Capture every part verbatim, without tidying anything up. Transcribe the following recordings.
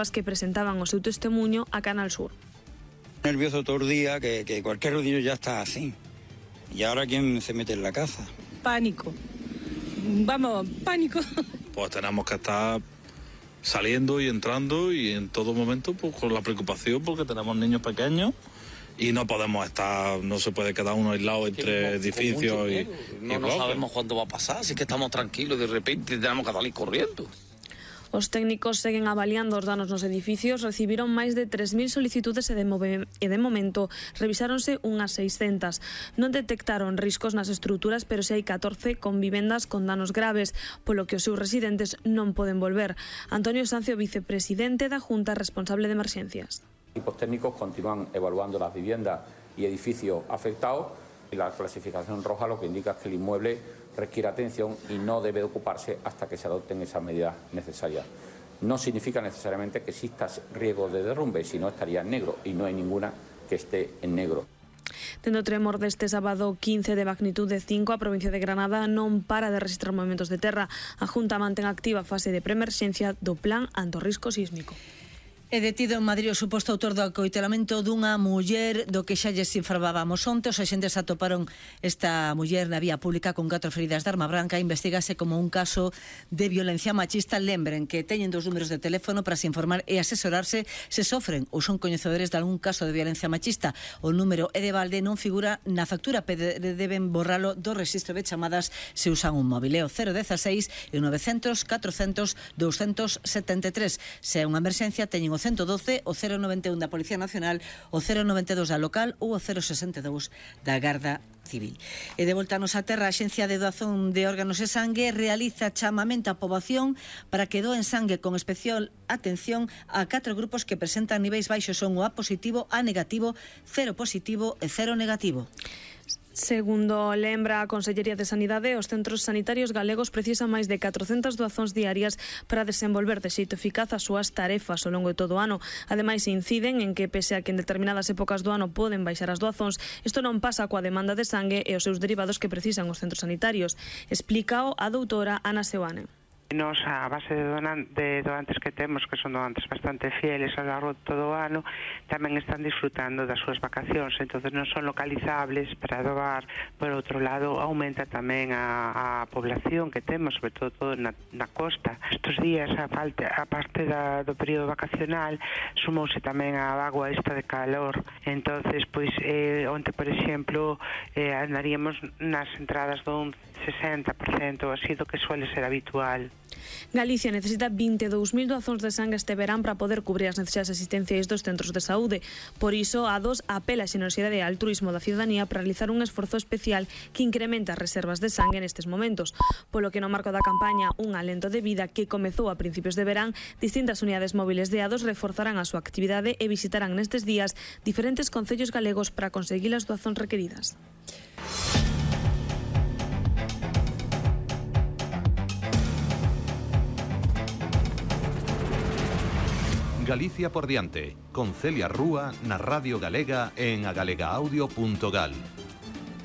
as que presentaban o seu testemunho a Canal Sur. Nervioso todo el día, que, que cualquier rodillo ya está así. ¿Y ahora quién se mete en la casa? Pánico. Vamos, pánico. Pues tenemos que estar saliendo y entrando y en todo momento pues con la preocupación porque tenemos niños pequeños y no podemos estar, no se puede quedar uno aislado entre edificios y, no, y no sabemos cuándo va a pasar, así que estamos tranquilos, de repente tenemos que salir corriendo. Os técnicos seguen avaliando os danos nos edificios, recibiron máis de tres mil solicitudes e de, e de momento revisáronse unhas seiscentas. Non detectaron riscos nas estruturas, pero se hai catorce con vivendas con danos graves, polo que os seus residentes non poden volver. Antonio Sancio, vicepresidente da Junta responsable de emerxencias. Los equipos técnicos continúan evaluando las viviendas y edificios afectados y la clasificación roja lo que indica es que el inmueble requiere atención y no debe ocuparse hasta que se adopten esas medidas necesarias. No significa necesariamente que exista riesgo de derrumbe, sino estaría en negro y no hay ninguna que esté en negro. Tendo tremor deste sábado quince de magnitude cinco, a provincia de Granada non para de registrar movimentos de terra. A Junta mantén activa a fase de preemerxencia do plan ante o risco sísmico. É detido en Madrid o suposto autor do acoitelamento dunha muller do que xa lles informábamos onte. Os axentes atoparon esta muller na vía pública con catro feridas de arma branca. Investígase como un caso de violencia machista. Lembren que teñen dos números de teléfono para se informar e asesorarse se sofren ou son coñecedores de algún caso de violencia machista. O número é de balde, non figura na factura, pero deben borralo do registro de chamadas se usan un móvil. É o cero dieciséis e novecientos catrocentos doscientos setenta e tres. Se é unha emerxencia, teñen o ciento doce, o cero noventa e un da Policía Nacional, o cero noventa e dos da local ou o cero sesenta e dous da Garda Civil. E de volta a nosa terra, a Axencia de Doazón de Órganos e Sangue realiza chamamento á poboación para que doen sangue con especial atención a catro grupos que presentan niveis baixos, son o A positivo, A negativo, cero positivo e cero negativo. Segundo lembra a Consellería de Sanidade, os centros sanitarios galegos precisan máis de catrocentas doazóns diarias para desenvolver de xeito eficaz as súas tarefas ao longo de todo o ano. Ademais, inciden en que, pese a que en determinadas épocas do ano poden baixar as doazóns, isto non pasa coa demanda de sangue e os seus derivados que precisan os centros sanitarios. Explícao a doutora Ana Seoane. Nos a base de, donan, de donantes que temos, que son donantes bastante fieles ao largo de todo o ano, tamén están disfrutando das súas vacacións, entonces non son localizables para doar. Por outro lado, aumenta tamén a, a población que temos, sobre todo, todo na, na costa. Estos días, a, falta, a parte da, do período vacacional, sumouse tamén a agua esta de calor, entonces, pois, eh, onte, por exemplo, eh, andaríamos nas entradas dun sesenta por cento, así do que suele ser habitual. Galicia necesita vinte e dous mil doazóns de sangue este verán para poder cubrir as necesidades asistenciais dos centros de saúde. Por iso, a dos apela a xenerosidade e altruismo da ciudadanía para realizar un esforzo especial que incrementa as reservas de sangue nestes momentos. Polo que no marco da campaña Un alento de vida, que comezou a principios de verán, distintas unidades móviles de A dos reforzarán a súa actividade e visitarán nestes días diferentes concellos galegos para conseguir as doazóns requeridas. Galicia por diante, con Celia Rúa na Radio Galega en agalegaaudio punto gal.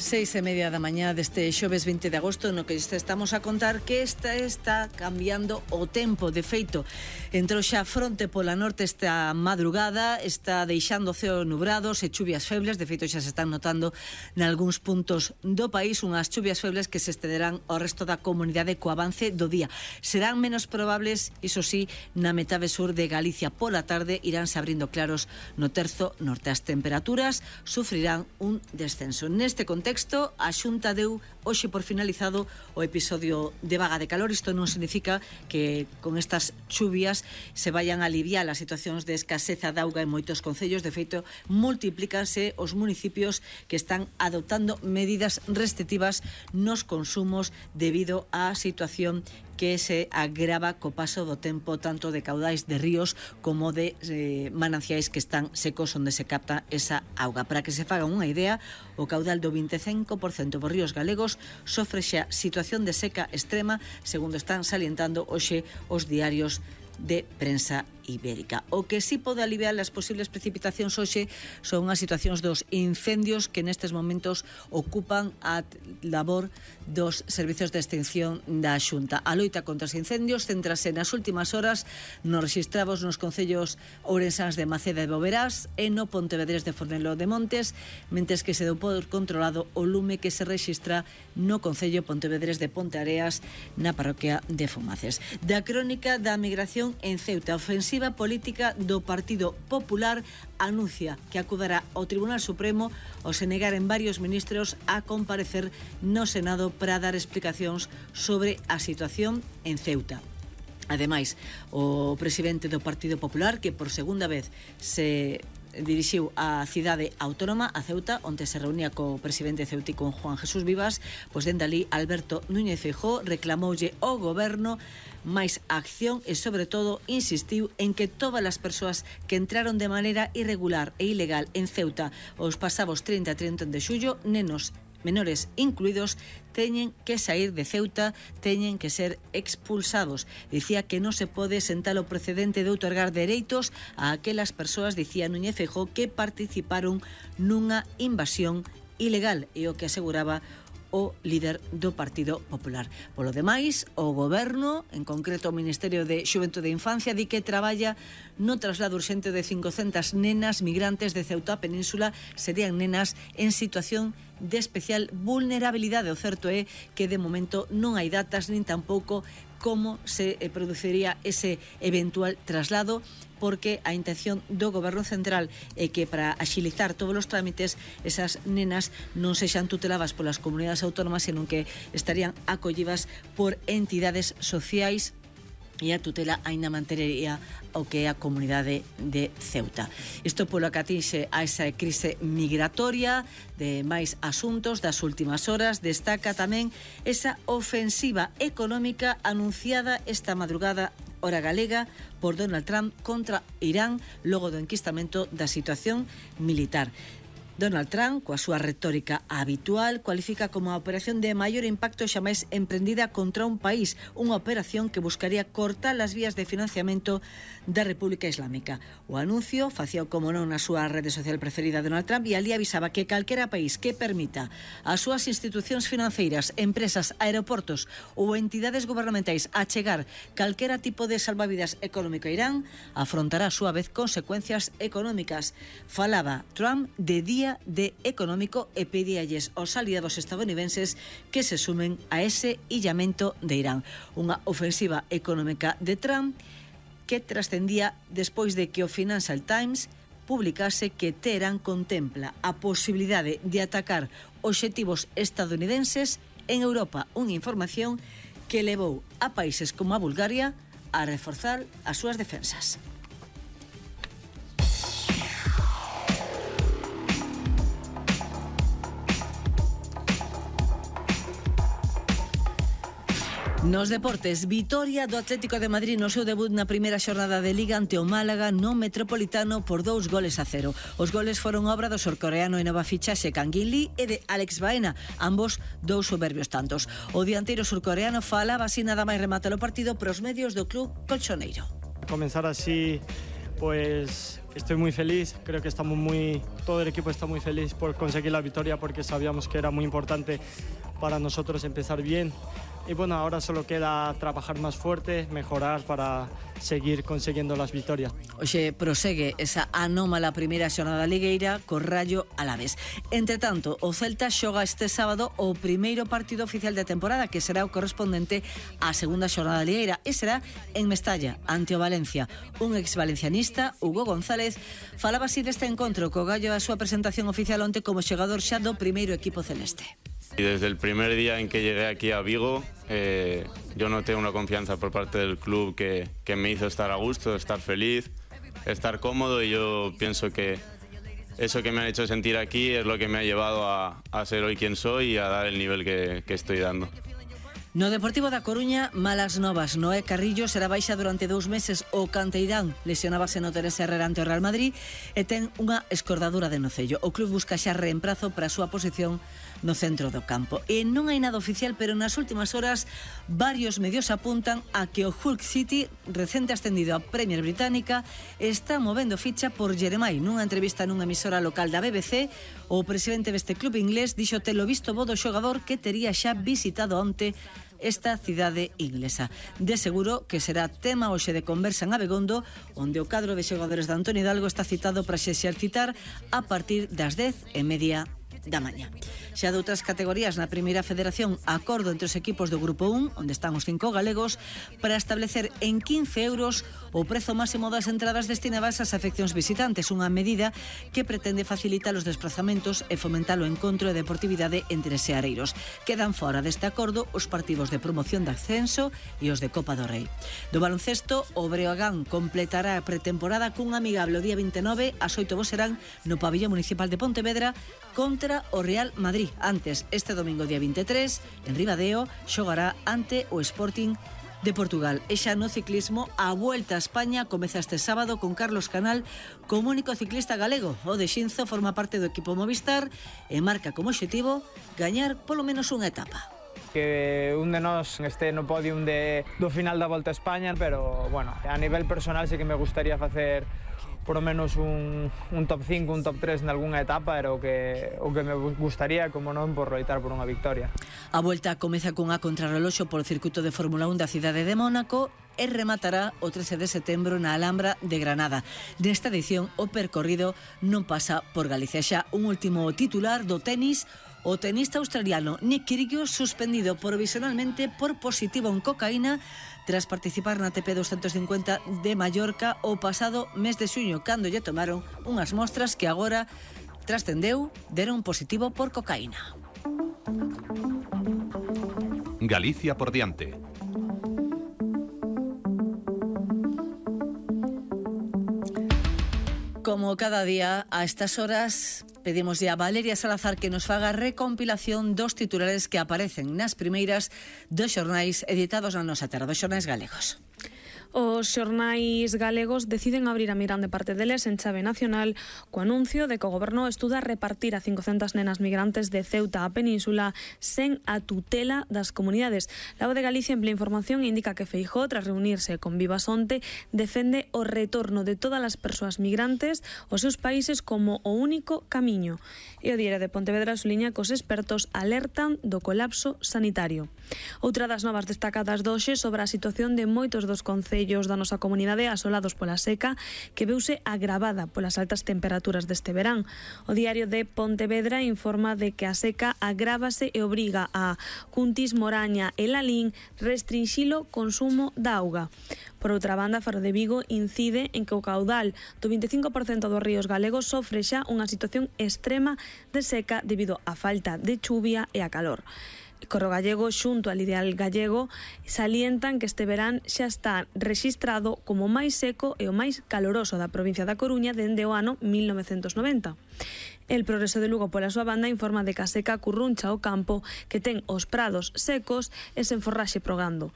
Seis e media da mañá deste xoves vinte de agosto, no que estamos a contar que esta está cambiando o tempo. De feito, entrou xa fronte pola norte esta madrugada, está deixando o ceo nubrados e chuvias febles. De feito, xa se están notando nalgúns puntos do país unhas chuvias febles que se estenderán ao resto da comunidade co avance do día. Serán menos probables, iso sí, na metade sur de Galicia. Pola tarde iránse abrindo claros no terzo norte. As temperaturas sufrirán un descenso. Neste contexto, a Xunta deu hoxe por finalizado o episodio de vaga de calor. Isto non significa que con estas chuvias se vayan a aliviar as situacións de escaseza de auga en moitos concellos. De feito, multiplícanse os municipios que están adoptando medidas restrictivas nos consumos debido á situación que se agrava co paso do tempo, tanto de caudais de ríos como de eh, mananciais que están secos onde se capta esa auga. Para que se fagan unha idea, o caudal do vinte e cinco por cento dos ríos galegos sofre xa situación de seca extrema, segundo están salientando hoxe os diarios de prensa ibérica. O que sí pode aliviar as posibles precipitacións hoxe son as situacións dos incendios que nestes momentos ocupan a labor dos servizos de extinción da Xunta. A loita contra os incendios centrase nas últimas horas nos rexistrados nos concellos ourensáns de Maceda e Boverás e no Pontevedrés de Fornelo de Montes, mentes que se deu por controlado o lume que se rexistra no concello Pontevedrés de Ponteareas na parroquia de Fumaces. Da crónica da migración en Ceuta, ofensiva política do Partido Popular anuncia que acudará ao Tribunal Supremo ao se negaren varios ministros a comparecer no Senado para dar explicacións sobre a situación en Ceuta. Ademais, o presidente do Partido Popular, que por segunda vez se dirixiu á cidade autónoma, a Ceuta, onde se reunía co presidente ceutico Juan Jesús Vivas, pois dende ali Alberto Núñez Feijóo reclamoulle ao goberno máis acción e, sobre todo, insistiu en que todas as persoas que entraron de maneira irregular e ilegal en Ceuta os pasados trinta e trinta de xullo, nenos menores incluídos, teñen que sair de Ceuta, teñen que ser expulsados. Dicía que non se pode sentar o precedente de outorgar dereitos a aquelas persoas, dicía Núñez Feijóo, que participaron nunha invasión ilegal, e o que aseguraba o líder do Partido Popular. Polo demais, o goberno, en concreto o Ministerio de Xuventude e Infancia, di que traballa no traslado urxente de cincocentas nenas migrantes de Ceuta a Península. Serían nenas en situación de especial vulnerabilidade. O certo é que de momento non hai datas nin tampouco como se produciría ese eventual traslado, porque a intención do Goberno Central é que para axilizar todos os trámites esas nenas non sexan tuteladas polas comunidades autónomas, senón que estarían acollidas por entidades sociais, e a tutela aínda mantería o que é a comunidade de Ceuta. Isto polo que atinxe a esa crise migratoria. De máis asuntos das últimas horas, destaca tamén esa ofensiva económica anunciada esta madrugada hora galega por Donald Trump contra Irán logo do enquistamento da situación militar. Donald Trump, coa súa retórica habitual, cualifica como a operación de maior impacto xamais emprendida contra un país, unha operación que buscaría cortar as vías de financiamento da República Islámica. O anuncio facía como non na súa rede social preferida Donald Trump, e ali avisaba que calquera país que permita as súas institucións financeiras, empresas, aeroportos ou entidades gubernamentais achegar calquera tipo de salvavidas económico a Irán afrontará a súa vez consecuencias económicas. Falaba Trump de día de económico e pedíalles aos aliados estadounidenses que se sumen a ese illamento de Irán. Unha ofensiva económica de Trump que trascendía despois de que o Financial Times publicase que Teherán contempla a posibilidade de atacar obxectivos estadounidenses en Europa, unha información que levou a países como a Bulgaria a reforzar as súas defensas. Nos deportes, vitoria do Atlético de Madrid no seu debut na primeira xornada de Liga ante o Málaga no Metropolitano por dous goles a cero. Os goles foron obra do surcoreano e nova fichaxe Kang In-lee e de Alex Baena, ambos dous soberbios tantos. O dianteiro surcoreano falaba así nada máis rematar o partido pros medios do club colchoneiro. Comenzar así, pues estoy muy feliz, creo que estamos muy, todo el equipo está muy feliz por conseguir la victoria, porque sabíamos que era muy importante para nosotros empezar bien. Y bueno, ahora solo queda trabajar más fuerte, mejorar para seguir consiguiendo las victorias. Oxe, prosegue esa anómala primeira xornada ligueira co Rayo Alavés. Entre tanto, o Celta xoga este sábado o primeiro partido oficial da temporada, que será o correspondente á segunda xornada ligueira, e será en Mestalla, ante o Valencia. Un ex-valencianista, Hugo González, falaba así deste encontro co gallo da súa presentación oficial onte como xogador xa do primeiro equipo celeste. Y desde el primer día en que llegué aquí a Vigo, eh, yo noté una confianza por parte del club que, que me hizo estar a gusto, estar feliz, estar cómodo, y yo pienso que eso que me ha hecho sentir aquí es lo que me ha llevado a, a ser hoy quien soy y a dar el nivel que, que estoy dando. No Deportivo da Coruña, malas novas. Noé Carrillo será baixa durante dous meses. O canteirán lesionábase no Teresa Herrera ante o Real Madrid e ten unha escordadura de nocello. O club busca xa reemprazo para a súa posición no centro do campo. E non hai nada oficial, pero nas últimas horas varios medios apuntan a que o Hull City, recente ascendido a Premier Británica, está movendo ficha por Jeremai. Nunha entrevista nunha emisora local da B B C, o presidente deste club inglés dixo telo visto bo do xogador que tería xa visitado onte esta cidade inglesa. De seguro que será tema hoxe de conversa en Abegondo, onde o cadro de xogadores de Antonio Hidalgo está citado para se exercitar a partir das dez e media da mañá. Xa de outras categorías na primeira federación, acordo entre os equipos do Grupo un, onde están os cinco galegos, para establecer en quince euros o prezo máximo das entradas destinadas ás afeccións visitantes, unha medida que pretende facilitar os desplazamentos e fomentar o encontro e deportividade entre seareiros. Quedan fora deste acordo os partidos de promoción de ascenso e os de Copa do Rei. Do baloncesto, o Breogán completará a pretemporada cun amigable o día vinte e nove, ás oito serán no pabillón municipal de Pontevedra contra o Real Madrid. Antes, este domingo día vinte e tres, en Ribadeo, xogará ante o Sporting de Portugal. E xa no ciclismo, a Vuelta a España comeza este sábado con Carlos Canal como único ciclista galego. O de Xinzo forma parte do equipo Movistar e marca como obxectivo gañar polo menos unha etapa. Que un de nós este no podium de, do final da Volta a España, pero, bueno, a nivel personal sí que me gustaría facer por lo menos un, un top cinco, un top tres en algunha etapa, era o que, o que me gustaría, como non, por loitar por unha victoria. A Volta comeza cunha contrarreloxo polo circuito de Fórmula un da cidade de Mónaco e rematará o trece de setembro na Alhambra de Granada. Nesta edición, o percorrido non pasa por Galicia. Xa un último titular do tenis. O tenista australiano Nick Kyrgios suspendido provisionalmente por positivo en cocaína tras participar na A T P doscientos cincuenta de Mallorca o pasado mes de xuño, cando lle tomaron unhas mostras que agora trascendeu deron positivo por cocaína. Galicia por diante. Como cada día, a estas horas, pedimos a Valeria Salazar que nos faga recompilación dos titulares que aparecen nas primeiras dos xornais editados na nosa terra, dos xornais galegos. Os xornais galegos deciden abrir a mirande parte deles en chave nacional co anuncio de que o goberno estuda repartir a cincocentas nenas migrantes de Ceuta á península sen a tutela das comunidades. La Voz de Galicia emplea información e indica que Feijóo, tras reunirse con Vivas onte, defende o retorno de todas as persoas migrantes aos seus países como o único camiño. E o Diario de Pontevedra suliña que os expertos alertan do colapso sanitario. Outra das novas destacadas doxe sobre a situación de moitos dos concellos da nosa comunidade asolados pola seca que veuse agravada polas altas temperaturas deste verán. O Diario de Pontevedra informa de que a seca agrávase e obriga a Cuntis, Moraña e Lalín restrinxilo consumo da auga. Por outra banda, Faro de Vigo incide en que o caudal do vinte e cinco por cento dos ríos galegos sofre xa unha situación extrema de seca debido á falta de chuvia e a calor. Correo Gallego, xunto al Ideal Gallego, salientan que este verán xa está rexistrado como o máis seco e o máis caloroso da provincia da Coruña dende o ano mil novecentos noventa. El Progreso de Lugo, pola súa banda, informa de que a seca curruncha o campo, que ten os prados secos e sen forraxe progando.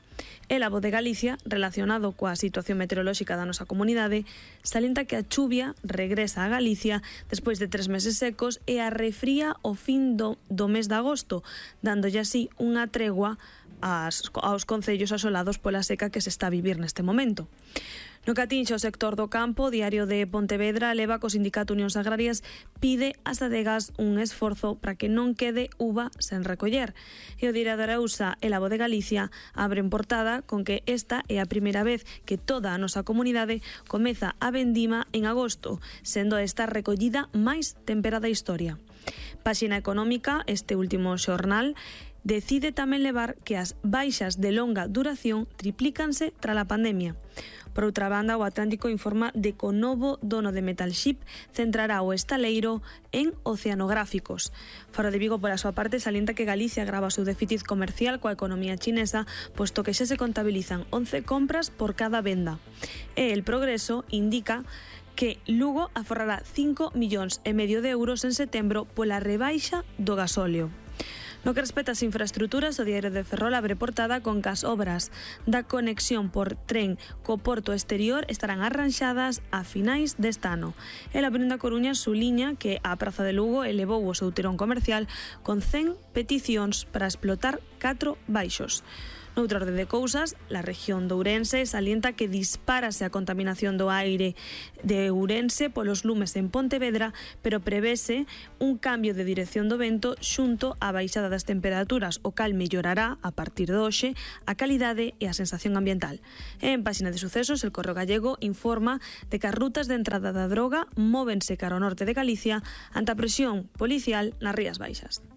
El A Voz de Galicia, relacionado coa situación meteorolóxica da nosa comunidade, salienta que a chuvia regresa a Galicia despois de tres meses secos e a refría o fin do, do mes de agosto, dándolle así unha tregua aos, aos concellos asolados pola seca que se está a vivir neste momento. No que atinxe o sector do campo, o Diario de Pontevedra leva co Sindicato Unións Agrarias pide ás adegas un esforzo para que non quede uva sen recoller. E o Diario de Arousa e La Voz de Galicia abren portada con que esta é a primeira vez que toda a nosa comunidade comeza a vendima en agosto, sendo esta recollida máis temperada da historia. Páxina económica, este último xornal, decide tamén levar que as baixas de longa duración triplícanse tras a pandemia. Por outra banda, o Atlántico informa de que o novo dono de Metalship centrará o estaleiro en oceanográficos. Faro de Vigo, pola súa parte, salienta que Galicia grava o seu déficit comercial coa economía chinesa, posto que xa se contabilizan once compras por cada venda. E El Progreso indica que Lugo aforrará cinco millóns e medio de euros en setembro pola rebaixa do gasóleo. No que respecta ás infraestructuras, o Diario de Ferrol abre portada con que as obras da conexión por tren co porto exterior estarán arranxadas a finais deste ano. E a Avenida Coruña suliña que a Praza de Lugo elevou o seu tirón comercial con cen peticións para explotar catro baixos. Noutra orde de cousas, a región de Ourense salienta que dispárase a contaminación do aire de Ourense polos lumes en Pontevedra, pero prevese un cambio de dirección do vento xunto á baixada das temperaturas, o cal mellorará, a partir de hoxe, a calidade e a sensación ambiental. E en páxina de sucesos, el Correo Gallego informa de que as rutas de entrada da droga móvense cara ao norte de Galicia ante a presión policial nas Rías Baixas.